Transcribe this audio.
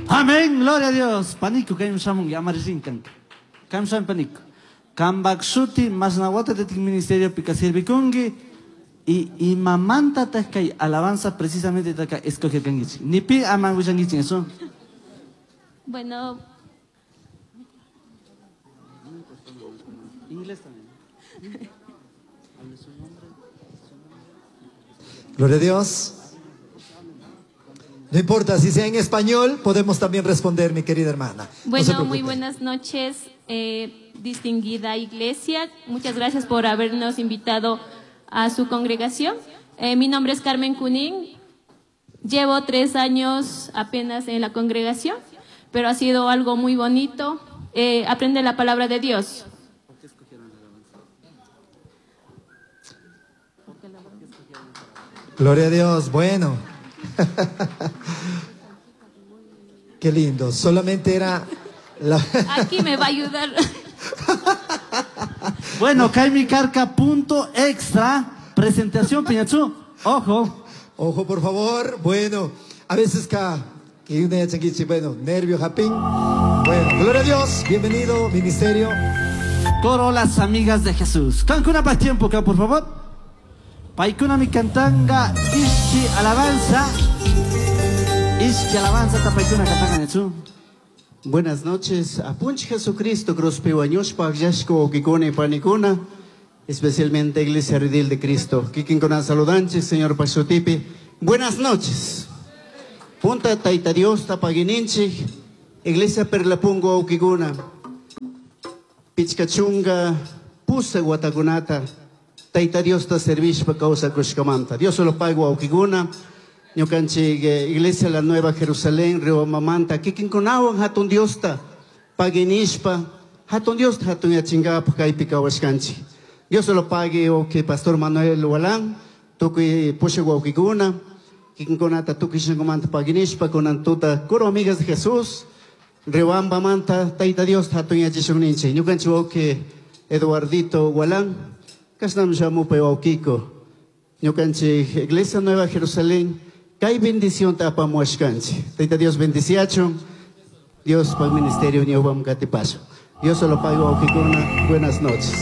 Amén, gloria a Dios. Panico, kaymi shamunki, amarillinkan. Kaymi shamun panico. Kambak shuti mashna watatatik ministeriopi sirvikunki y imamantataj kay alabanza precisamente taka escogerkankichik. Ni pi ama willankichik eso. Bueno, Inglés también. Gloria a Dios. No importa si sea en español, podemos también responder, mi querida hermana. No se bueno, preocupe. muy buenas noches, distinguida iglesia. Muchas gracias por habernos invitado a su congregación. Mi nombre es Carmen Cunín. Llevo 3 años apenas en la congregación, pero ha sido algo muy bonito. Aprender la palabra de Dios. Gloria a Dios, bueno. Qué lindo, solamente era la Aquí me va a ayudar. Bueno, Kaimi Carca punto extra, presentación Piñachú, ojo. Ojo, por favor, bueno, a veces que una changuichi, bueno, nervio, japín. Bueno, gloria a Dios, bienvenido, ministerio. Coro Las Amigas de Jesús. Cancuna pa' tiempo acá, por favor. Paikuna mi cantanga, ishki alabanza. Ishki alabanza, ta paikuna cantanga, Netsu. Buenas noches. Apunch Jesucristo, cruz piwañushpa, yashko, okikune, panikuna, especialmente Iglesia Redil de Cristo. Kikin con saludanche, señor Pasutipi. Buenas noches. Punta Taita Dios, tapaguininchi, Iglesia Perlapungo, okikuna. Pichcachunga, pusa guatagunata. Taita Dios ta servishpa causa kushkamanta. Dios lo pago a okikuna. Ñukanchik, Iglesia La Nueva Jerusalén, Riobambamanta, kikinkunawan hatun Diosta paguinishpa, hatun Diosta hatun yachingapaj kaypi kawashkanchik. Dios lo pague, ok, Pastor Manuel Walán, tukuy pusha wawkikuna, kikinkunata tukuy shankumanta paguinishpa, kunan tuta, coro amigas de Jesús, Riobambamanta, Taita Dios hatun yachishunninchik. Ñukanchik wawki Eduardito Walán, kasnam shamupa wawkiko. Ñukanchik Iglesia Nueva Jerusalén, kay bendición ta apamuashkanchik. Taita Dios bendiciachun. Dios pa'l ministerio ñawpam katipaso. Dios se lo pago a Okikuna. Buenas noches.